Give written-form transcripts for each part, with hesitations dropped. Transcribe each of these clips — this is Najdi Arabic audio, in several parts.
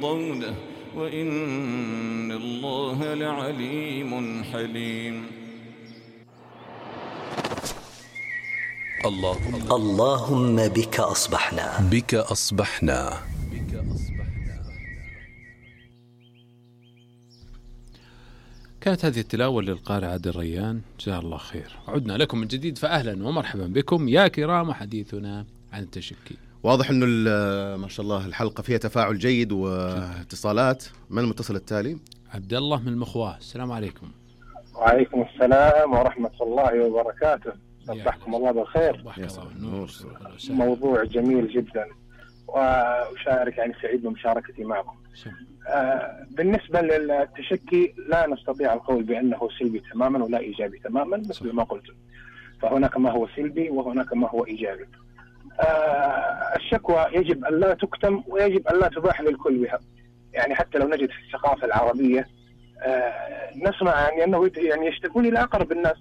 يرضونه وإن الله لعليم حليم. اللهم بك أصبحنا. بك أصبحنا. كانت هذه التلاوة للقارئ عادل ريان، جزاه الله خير. عدنا لكم من جديد، فأهلا ومرحبا بكم يا كرام، وحديثنا عن التشكي. واضح أنه ما شاء الله الحلقة فيها تفاعل جيد واتصالات. من المتصل التالي؟ عبد الله من المخواه. السلام عليكم. وعليكم السلام ورحمة الله وبركاته. صبحكم الله بالخير. موضوع جميل جدا، وأشارك يعني سعيد بمشاركتي معكم. بالنسبة للتشكي لا نستطيع القول بأنه سلبي تماما ولا إيجابي تماما، مثل ما قلت، فهناك ما هو سلبي وهناك ما هو إيجابي. الشكوى يجب أن لا تكتم ويجب أن لا تباح للكل بها. يعني حتى لو نجد في الثقافة العربية نسمع يعني أنه يعني يشتكون إلى أقرب الناس،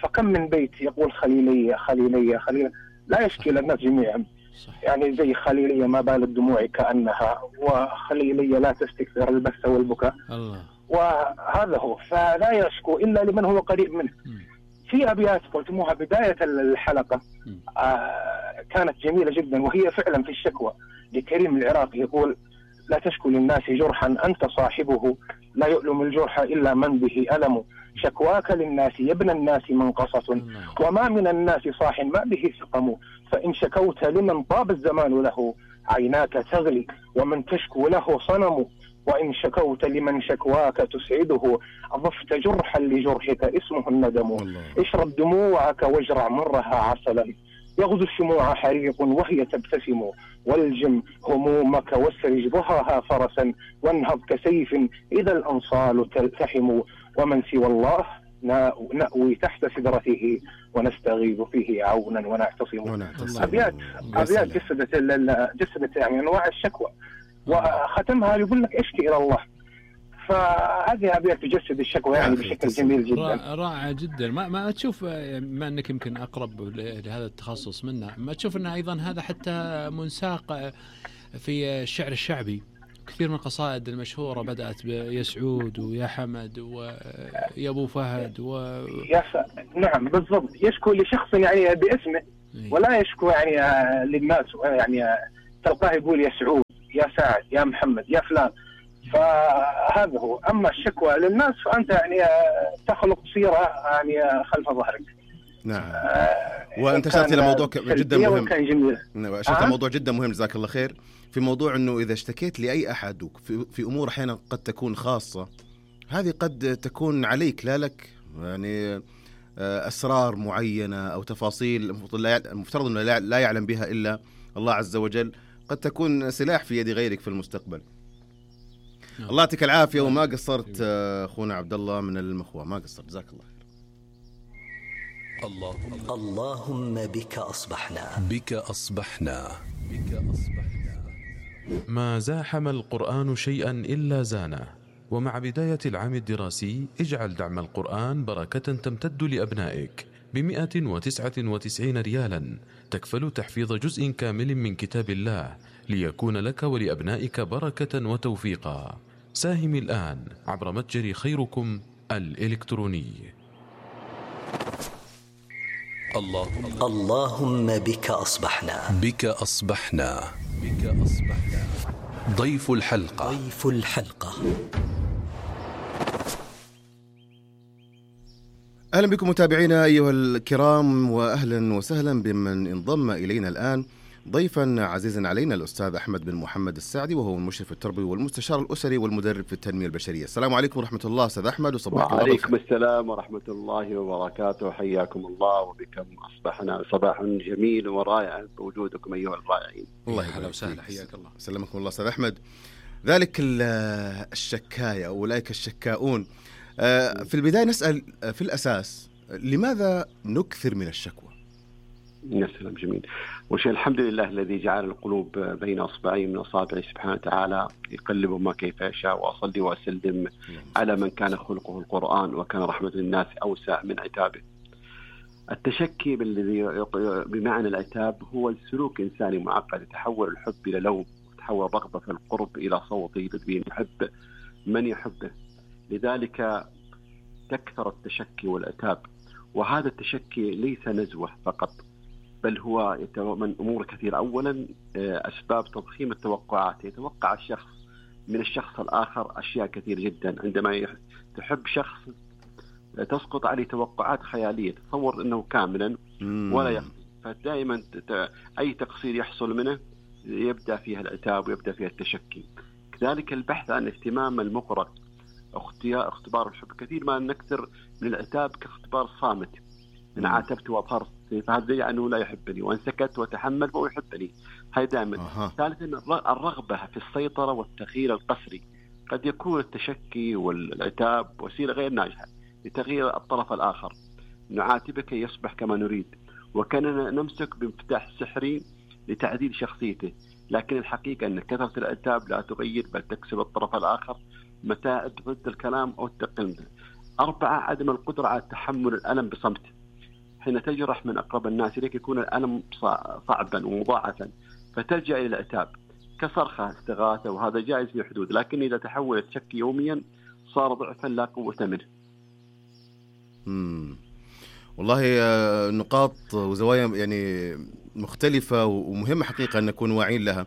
فكم من بيت يقول خليلية خليلية خليلية، لا يشكي الناس جميعا. يعني زي خليلية ما بال الدموع كأنها، وخليلية لا تستكثر البث والبكاء. وهذا هو، فلا يشكو إلا لمن هو قريب منه. في أبيات قلتموها بداية الحلقة كانت جميلة جدا، وهي فعلا في الشكوى لكريم العراقي، يقول: لا تشكو للناس جرحا أنت صاحبه، لا يؤلم الجرح إلا من به ألم، شكواك للناس يا ابن الناس منقصة، وما من الناس صاح ما به سقم، فإن شكوت لمن طاب الزمان له عيناك تغلي، ومن تشكو له صنم، وإن شكوت لمن شكواك تسعده أضفت جرحا لجرحك اسمه الندم، اشرب دموعك واجرع مرها عسلا، يغزو الشموع حريق وهي تبتسم، والجم همومك واسرج ضهاها فرسا، وانهض كسيف إذا الأنصال تلتحم، ومن سوى الله نأوي تحت سدرته ونستغيث فيه عونا ونعتصم. أبيات جسدت يعني أنواع الشكوى، وختمها يقول لك اشكي إلى الله. فهذه أبيات تجسد الشكوى يعني بشكل جميل جدا، رائع جدا. ما تشوف، ما أنك يمكن أقرب لهذا التخصص منا، ما تشوف أن أيضا هذا حتى منساق في الشعر الشعبي؟ كثير من القصائد المشهورة بدأت بيا سعود ويا حمد ويا أبو فهد نعم بالضبط، يشكو لشخص يعني باسمه ولا يشكو يعني للناس. يعني تلقاه يقول يا سعود يا سعد يا محمد يا فلان، فهذا هو. أما الشكوى للناس فأنت يعني تخلق صيرة يعني خلف ظهرك. نعم. وأنت أشرت إلى موضوع جدا مهم، وأشرت إلى موضوع جدا مهم جزاك الله خير، في موضوع أنه إذا اشتكيت لأي أحد في أمور أحيانا قد تكون خاصة، هذه قد تكون عليك لا لك، يعني أسرار معينة أو تفاصيل المفترض أنه لا يعلم بها إلا الله عز وجل، قد تكون سلاح في يد غيرك في المستقبل. الله يعطيك العافية، وما قصرت أخونا عبد الله من المخوة، ما قصرت، جزاك الله خير. اللهم بك أصبحنا. بك أصبحنا. بك أصبحنا. ما زاحم القرآن شيئا إلا زانه، ومع بداية العام الدراسي اجعل دعم القرآن بركة تمتد لأبنائك ب199 ريالا، تكفل تحفيظ جزء كامل من كتاب الله ليكون لك ولأبنائك بركة وتوفيقا. ساهم الآن عبر متجر خيركم الإلكتروني. اللهم بك أصبحنا. بك أصبحنا. بك أصبحنا. ضيف الحلقة. ضيف الحلقة. أهلا بكم متابعينا أيها الكرام، وأهلا وسهلا بمن انضم إلينا الآن. ضيفا عزيزا علينا الأستاذ أحمد بن محمد السعدي، وهو المشرف التربوي والمستشار الأسري والمدرب في التنمية البشرية. السلام عليكم ورحمة الله أستاذ أحمد، وصباحك الله بالخير. وعليكم السلام ورحمة الله وبركاته، حياكم الله وبكم أصبحنا صباح جميل ورائع بوجودكم أيها الرائعين. الله يحييك وسهلا، حياك الله. سلمكم الله أستاذ أحمد. ذلك الشكاية أولئك الشكاؤون، في البداية نسأل في الأساس لماذا نكثر من الشكوى؟ يا سلام، جميل. وشيء الحمد لله الذي جعل القلوب بين أصبعين من أصابعه سبحانه وتعالى يقلب ما كيف يشاء. وأصلي وأسلم على من كان خلقه القرآن وكان رحمة الناس أوسع من عتابه. التشكي بمعنى العتاب هو السلوك إنساني معقد يتحول الحب إلى لوم، تتحول رغبة في القرب إلى صوت يلذ يحب من يحبه. لذلك تكثر التشكي والعتاب، وهذا التشكي ليس نزوة فقط، بل هو من أمور كثيرة. أولا أسباب تضخيم التوقعات، يتوقع الشخص من الشخص الآخر أشياء كثير جدا. عندما تحب شخص تسقط عليه توقعات خيالية، تصور أنه كاملا ولا يخطئ، فدائما أي تقصير يحصل منه يبدأ فيها العتاب ويبدأ فيها التشكي. كذلك البحث عن اهتمام المقرأ، اختبار الحب. كثير ما نكثر من العتاب كاختبار صامت، إن عاتبت وأظهرت فهذا يعني أنه لا يحبني، وإن سكت وتحمل فهو يحبني. هاي دائما. ثالثا الرغبة في السيطرة والتغيير القسري. قد يكون التشكي والعتاب وسيلة غير ناجحة لتغيير الطرف الآخر، نعاتبك يصبح كما نريد، وكاننا نمسك بمفتاح سحري لتعديل شخصيته. لكن الحقيقة أن كثرة العتاب لا تغير بل تكسب الطرف الآخر متاعب ضد الكلام أو التقليد. 4 عدم القدرة على تحمل الألم بصمت. حين تجرح من أقرب الناس إليك يكون الألم صعبا ومضاعفا، فتلجأ إلى العتاب كصرخة استغاثة، وهذا جائز في حدود، لكن إذا تحول التشكي يوميا صار ضعفا لا قوة منه. والله نقاط وزوايا يعني مختلفة ومهمة حقيقة أن نكون واعين لها.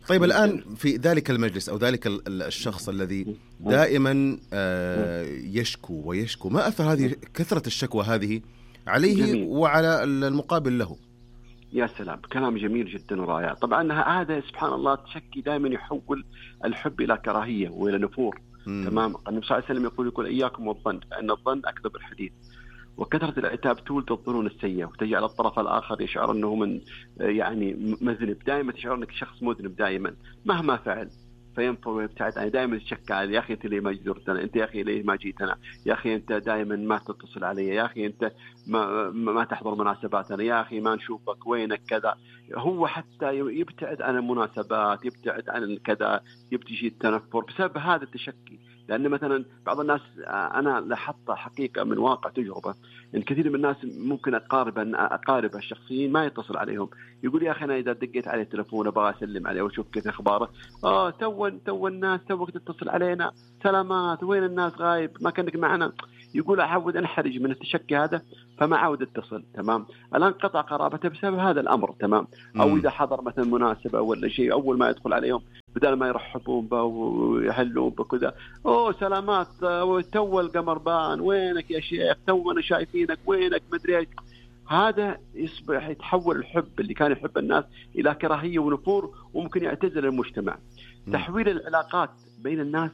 طيب الآن في ذلك المجلس أو ذلك الشخص الذي دائما يشكو ويشكو، ما أثر هذه كثرة الشكوى هذه عليه جميل. وعلى المقابل له؟ يا سلام، كلام جميل جدا ورائع. طبعا هذا سبحان الله التشكي دائما يحول الحب إلى كراهية وإلى نفور. تمام. النبي صلى الله عليه وسلم يقول إياكم والظن فإن الظن أكذب الحديث. وكثرة العتاب تولد الظنون السيئة وتجعل الطرف الآخر يشعر أنه من يعني مذنب، دائما تشعر أنك شخص مذنب دائما مهما فعل، فينفر ويبتعد. أنا دائما تشكى يا أخي أنت ليه ما زرتنا، أنت يا أخي ليه ما جيتنا، يا أخي أنت دائما ما تتصل علي، يا أخي أنت ما تحضر مناسباتنا، يا أخي ما نشوفك، وينك كذا. هو حتى يبتعد عن المناسبات، يبتعد عن الكذا، يبتجي التنفر بسبب هذا التشكي. لأن مثلا بعض الناس أنا لاحظت حقيقة من واقع تجربة إن كثير من الناس ممكن أقارب الشخصيين ما يتصل عليهم، يقول يا أخي أنا إذا دقيت عليه التلفون أبغى أسلم عليه وأشوف كيف أخباره، تو الناس توك تتصل علينا، سلامات، وين الناس غايب، ما كانك معنا. يقول أحاول أنحرج من التشكي هذا فما عاود اتصل. تمام. الآن قطع قرابته بسبب هذا الأمر. تمام. أو إذا حضر مثلا مناسبة ولا شيء، أول ما يدخل عليهم بدل ما يرحبون به ويحلون بكذا، سلامات، تو القمر بان، وينك يا شيخ، تونا شايفينك، وينك، مدري ايش. هذا يصبح يتحول الحب اللي كان يحب الناس إلى كراهية ونفور، وممكن يعتزل المجتمع. تحويل العلاقات بين الناس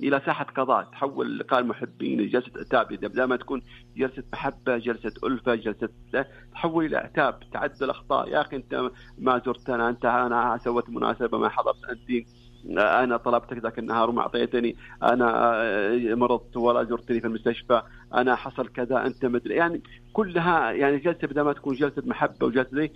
إلى ساحة قضاء، تحول لقاء المحبين لجلسة عتاب. بدل ما تكون جلسة محبة، جلسة ألفة، جلسة تحول إلى عتاب، تعدد الأخطاء. يا أخي أنت ما زرتنا، أنا سويت مناسبة ما حضرت أنت، أنا طلبتك ذاك النهار وما أعطيتني، أنا مرضت ولا زرتني في المستشفى، أنا حصل كذا، أنت مدري. يعني كلها يعني جلسة بدل ما تكون جلسة محبة وجلسة زي،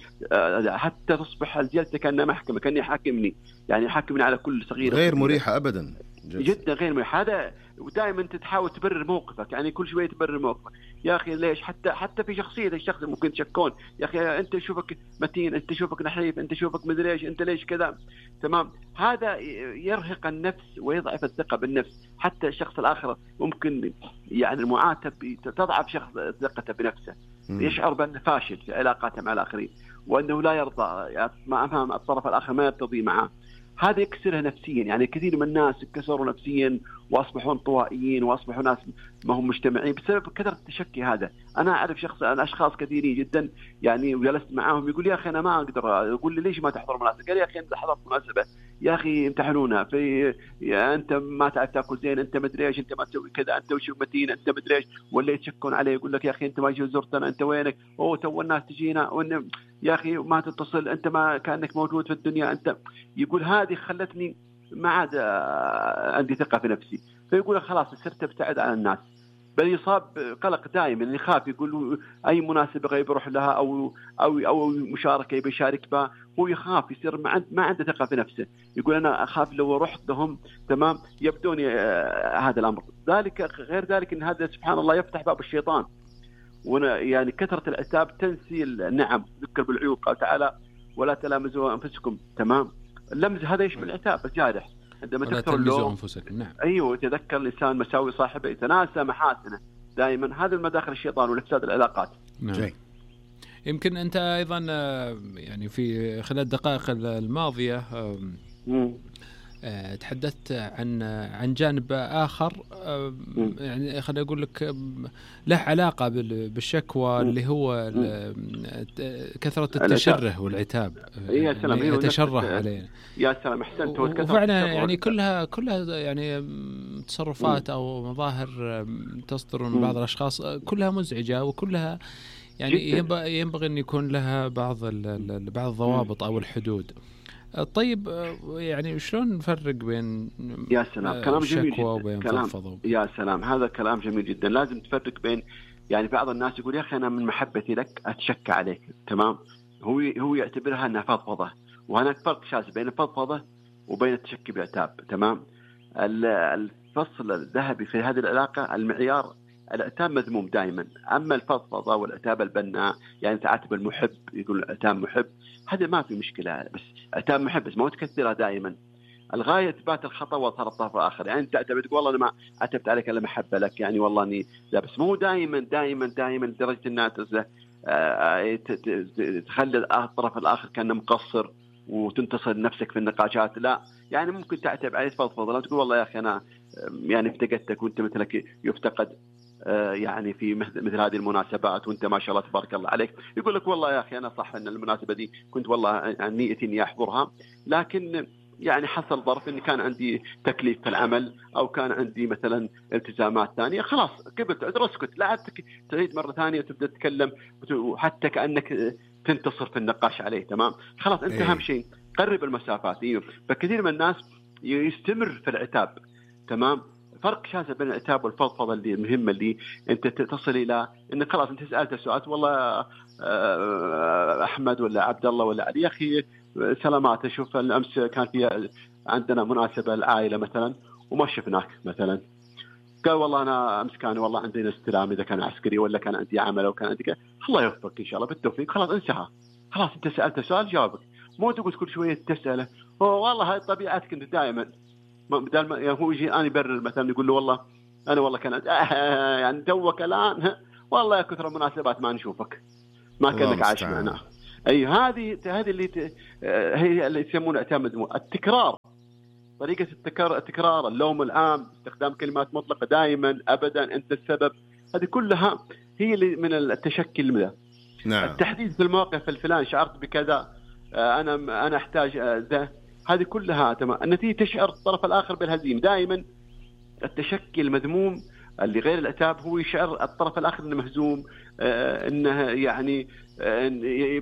حتى تصبح الجلسة كأنها محكمة، كأنه يحاكمني، يعني يحاكمني على كل صغيرة، غير مريحة أبدا جدا، غير مريح. هذا ودائما تحاول تبرر موقفك، يعني كل شويه تبرر موقفك. يا اخي ليش؟ حتى في شخصيه الشخص ممكن تشكون، يا اخي انت شوفك متين، انت شوفك نحيف، انت شوفك مدري ايش، انت ليش كذا. تمام. هذا يرهق النفس ويضعف الثقه بالنفس. حتى الشخص الاخر ممكن يعني المعاتب تضعف شخص ثقته بنفسه، يشعر بانه فاشل في علاقاته مع الاخرين، وانه لا يرضى، ما افهم الطرف الاخر ما يرتضي معه. هذا يكسرها نفسيا. يعني كثير من الناس كسروا نفسيا واصبحوا انطوائيين واصبحوا ناس ما هم مجتمعين بسبب كثرة التشكي هذا. انا اعرف اشخاص كثيرين جدا يعني وجلست معاهم، يقول يا اخي انا ما اقدر، اقول لي ليش ما تحضر مناسبه؟ قال يا اخي انت حضرت مناسبه، يا اخي امتحنونا في، انت ما تعرف تاكل زين، انت مدري ايش، انت ما تسوي كذا، انت وش متين، انت مدري ايش، ولا يتشكون عليه، يقول لك يا اخي انت ما جيت زرتنا، انت وينك، تو الناس تجينا، وان يا اخي ما تتصل، انت ما كانك موجود في الدنيا، انت. يقول هذه خلتني ما عاد عندي ثقه في نفسي. فيقول خلاص صرت ابتعد عن الناس، بل يصاب قلق دائما، يخاف، يقول اي مناسبه غير يروح لها او مشاركه يبي يشارك بها، هو يخاف، يصير ما عنده ثقه في نفسه. يقول انا اخاف لو رحت لهم تمام يبدوني هذا الامر. ذلك غير ذلك ان هذا سبحان الله يفتح باب الشيطان. يعني كثره العتاب تنسي النعم، ذكر بالعيوب. قال تعالى ولا تلامزوا انفسكم. تمام. اللمز هذا يشمل العتاب الجارح عندما تكثر اللوم. نعم. أيوه، يتذكر الإنسان مساوي صاحبه، يتناسى محاسنه دائما. هذا المداخل الشيطان والإفساد العلاقات. نعم. يمكن أنت أيضا يعني في خلال الدقائق الماضية تحدثت عن جانب آخر، يعني خليني أقول لك له علاقة بالشكوى اللي هو كثرة التشره والعتاب. يا سلام، يتشره علينا. يا سلام، أحسنت. وفعلا يعني كلها يعني تصرفات أو مظاهر تصدر من بعض الأشخاص كلها مزعجة، وكلها يعني ينبغي أن يكون لها بعض الضوابط أو الحدود. طيب يعني شلون نفرق بين يا سلام كلام جميل جدا وبين فضفضة؟ يا سلام، هذا كلام جميل جدا. لازم تفرق بين، يعني بعض الناس يقول يا أخي أنا من محبتي لك أتشكى عليك، تمام، هو يعتبرها أنها فضفضة، وهناك فرق شاسع بين الفضفضة وبين التشكي بالعتاب، تمام. الفصل الذهبي في هذه العلاقة المعيار العتاب مذموم دائما، أما الفضفضة والعتاب البناء يعني تعاتب المحب، يقول العتاب محب، هذا ما في مشكلة، بس عتاب محب بس ما تكثرها دائما. الغاية إثبات الخطأ وإظهار الطرف الآخر. يعني أنت تعتبر تقول والله أنا ما عتبت عليك إلا محبة لك، يعني والله إني لا، بس مو دائما دائما دائما لدرجة أنها تخلي الطرف الآخر كأنه مقصر وتنتصر لنفسك في النقاشات. لا، يعني ممكن تعتب عليه تفضفض، لا تقول والله يا أخي أنا يعني افتقدتك وأنت مثلك يفتقد يعني في مثل هذه المناسبات، وانت ما شاء الله تبارك الله عليك. يقول لك والله يا اخي انا صح ان المناسبه دي كنت والله نيتي اني احضرها، لكن يعني حصل ظرف اني كان عندي تكليف في العمل او كان عندي مثلا التزامات ثانيه، خلاص قبلت عذر، اسكت، لا تعيد مره ثانيه وتبدا تتكلم وحتى كانك تنتصر في النقاش عليه، تمام. خلاص انت اهم شيء قرب المسافات. فكثير من الناس يستمر في العتاب، تمام. فرق شاسع بين العتاب والفضفضة اللي المهمة، اللي أنت تصل إلى إن خلاص أنت سألت سؤال، والله أحمد ولا عبد الله ولا علي، يا أخي سلامات، أشوف الأمس كان في عندنا مناسبة العائلة مثلا وما شفناك مثلا، قال والله أنا أمس كان والله عندنا استلام، إذا كان عسكري ولا كان عندي عمل أو كان عندي الله يوفقك إن شاء الله بالتوفيق، خلاص انسحى، خلاص أنت سألت سؤال جاوبك، مو تقول كل شوية تسأله والله هاي طبيعتك أنت دائما. بدل ما هو يجي أنا يبرر مثلا يقول له والله أنا والله كان يعني توك الآن والله يا كثر المناسبات ما نشوفك، ما كأنك عايش معنا. أي هذه اللي هي اللي يسمونها اعتماد التكرار، طريقة التكرار، اللوم العام، استخدام كلمات مطلقة دائما أبدا أنت السبب، هذه كلها هي اللي من التشكي المدى. نعم. التحديد في الموقف الفلاني شعرت بكذا، أنا أحتاج ذا، هذه كلها تمام. النتيجة تشعر الطرف الآخر بالهزيمة. دائما التشكي المذموم اللي غير العتاب هو يشعر الطرف الآخر أنه مهزوم، أنه يعني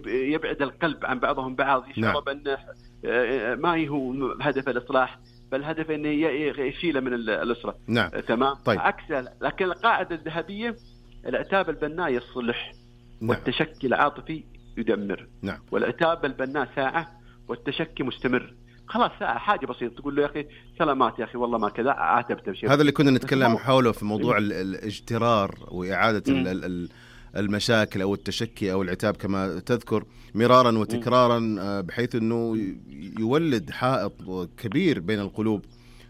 يبعد القلب عن بعضهم بعض، يشعر بأنه ما هو هدف الإصلاح، بل هدف أنه يشيله من الأسرة. نعم. تمام. طيب. عكسه، لكن القاعدة الذهبية العتاب البناء يصلح، والتشكي العاطفي يدمر. نعم. والعتاب البناء ساعة والتشكي مستمر، خلاص ساعة حاجة بسيطة تقول له يا أخي سلامات يا أخي والله ما كذا، عاتبت بشيء. هذا اللي كنا نتكلم حوله في موضوع الاجترار وإعادة المشاكل أو التشكي أو العتاب كما تذكر مرارا وتكرارا، بحيث أنه يولد حائط كبير بين القلوب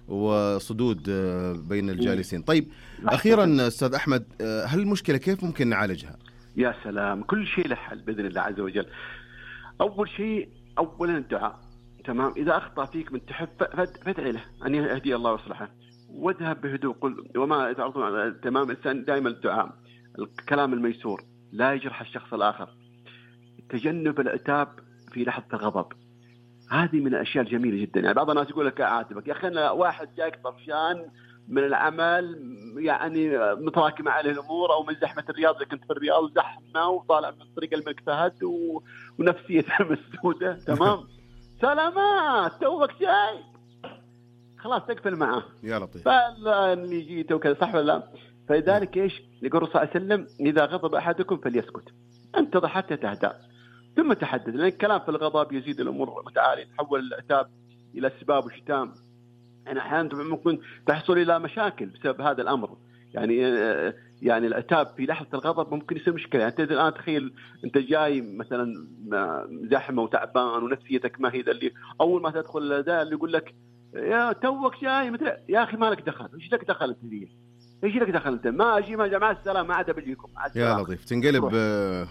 وصدود بين الجالسين. طيب أخيرا أستاذ أحمد، هل المشكلة كيف ممكن نعالجها؟ يا سلام، كل شيء له حل بإذن الله عز وجل. أول شيء أولا الدعاء، تمام. إذا أخطأ فيك من تحب فادعي له أن يهدي الله ويصلحه، واذهب بهدوء، قل وما تعرضون، تمام. الإنسان دائما الدعاء، الكلام الميسور، لا يجرح الشخص الآخر، تجنب العتاب في لحظة الغضب، هذه من الأشياء الجميلة جدا. يعني بعض الناس يقول لك أعاتبك يا أخي أنا واحد جاك طفشان من العمل، يعني متراكمة عليه الأمور، أو من زحمة الرياض، إذا كنت في الرياض زحمة وطالع من طريق الملك فهد ونفسيته مسدودة، تمام. سلامات توك شيء، خلاص تقفل معه يا لطيف، فاللي جيته وكذا، صح ولا لا؟ فلذلك ايش يقول الرسول صلى الله عليه وسلم إذا غضب أحدكم فليسكت، انتظر حتى تهدأ ثم تحدث، لأن الكلام في الغضب يزيد الأمور متعالية، يتحول العتاب إلى سباب وشتام. يعني أحيانا ممكن تحصل إلى مشاكل بسبب هذا الأمر. يعني يعني العتاب في لحظة الغضب ممكن يصير مشكلة. يعني أنت الآن تخيل أنت جاي مثلا زحمة وتعبان ونفسيتك ما هي ذا، اللي أول ما تدخل ذا اللي يقول لك يا توك جاي مثل يا أخي ما لك دخل، إيش لك دخل أنت ذي؟ إيش لك دخل أنت؟ ما أجي ما مع السلامة، ما عاد بجيكم. يا لطيف تنقلب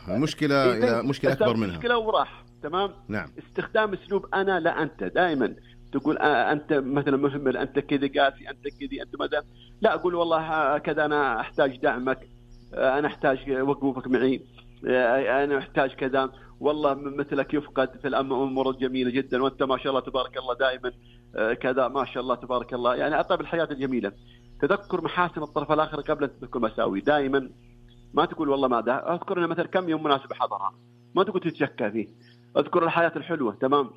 المشكلة إلى مشكلة أكبر منها. مشكلة وراح. تمام. نعم. استخدام أسلوب أنا لا أنت، دائما تقول أنت مثلا مهمل، أنت كذا قاسي، أنت كذي، أنت ماذا. لا أقول والله كذا أنا أحتاج دعمك، أنا أحتاج وقوفك معي، أنا أحتاج كذا، والله مثلك يفقد في الأمور الجميلة جدا، وأنت ما شاء الله تبارك الله دائما كذا ما شاء الله تبارك الله. يعني أطيب الحياة الجميلة. تذكر محاسن الطرف الآخر قبل أن تذكر مساوي. دائما ما تقول والله ما ده، أذكر أن مثلا كم يوم مناسبة حضرها، ما تقول تتشكى فيه. أذكر الحياة الحلوة. تمام.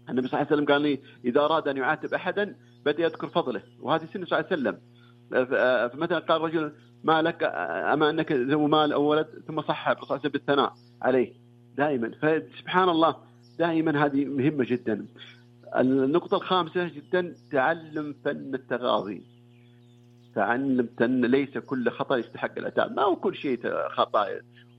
النبي صلى الله عليه وسلم قال لي إذا أراد أن يعاتب أحدا بدأ يذكر فضله، وهذه سنة صلى الله عليه وسلم. فمثلا قال رجل ما لك أما أنك ذو مال أو ولد، ثم صح الرسول صلى الله عليه وسلم بالثناء عليه دائما. فسبحان الله دائما هذه مهمة جدا. النقطة الخامسة جدا تعلم فن التغاضي. تعلم فن ليس كل خطأ يستحق العتاب، ما هو كل شيء خطأ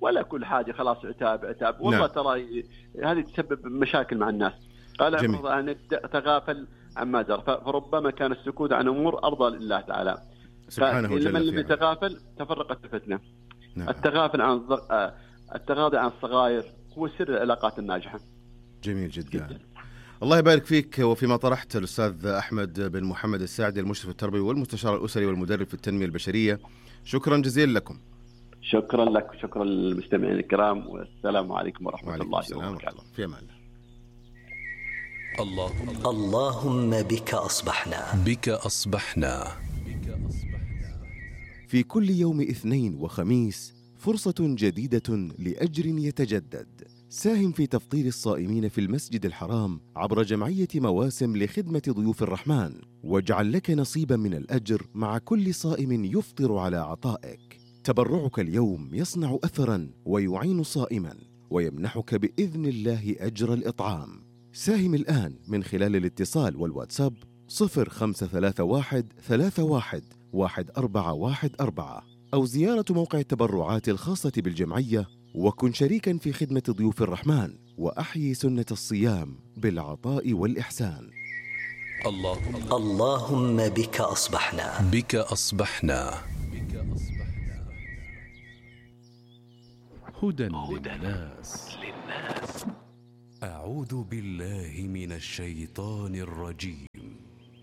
ولا كل حاجة خلاص عتاب والله. نعم. ترى هذه تسبب مشاكل مع الناس. قال أن تغافل عما جرى، فربما كان السكوت عن أمور أرضى لله تعالى سبحانه وتعالى. من لم يتغافل تفرقت الفتنة. نعم. التغاضي عن الصغائر هو سر العلاقات الناجحة. جميل جدا. الله يبارك فيك. وفيما طرحت الأستاذ أحمد بن محمد الساعدي، المشرف التربوي والمستشار الأسري والمدرب في التنمية البشرية، شكرا جزيلا لكم. شكرا لك وشكرا للمستمعين الكرام، والسلام عليكم ورحمة الله وبركاته. في أمان الله. اللهم بك أصبحنا. بك أصبحنا. في كل يوم اثنين وخميس فرصة جديدة لأجر يتجدد. ساهم في تفطير الصائمين في المسجد الحرام عبر جمعية مواسم لخدمة ضيوف الرحمن، واجعل لك نصيبا من الأجر مع كل صائم يفطر على عطائك. تبرعك اليوم يصنع أثرا ويعين صائما، ويمنحك بإذن الله أجر الإطعام. ساهم الآن من خلال الاتصال والواتساب 0531 31 1414 أو زيارة موقع التبرعات الخاصة بالجمعية، وكن شريكا في خدمة ضيوف الرحمن، وأحيي سنة الصيام بالعطاء والإحسان. اللهم بك أصبحنا. بك أصبحنا. هدى للناس. أعوذ بالله من الشيطان الرجيم.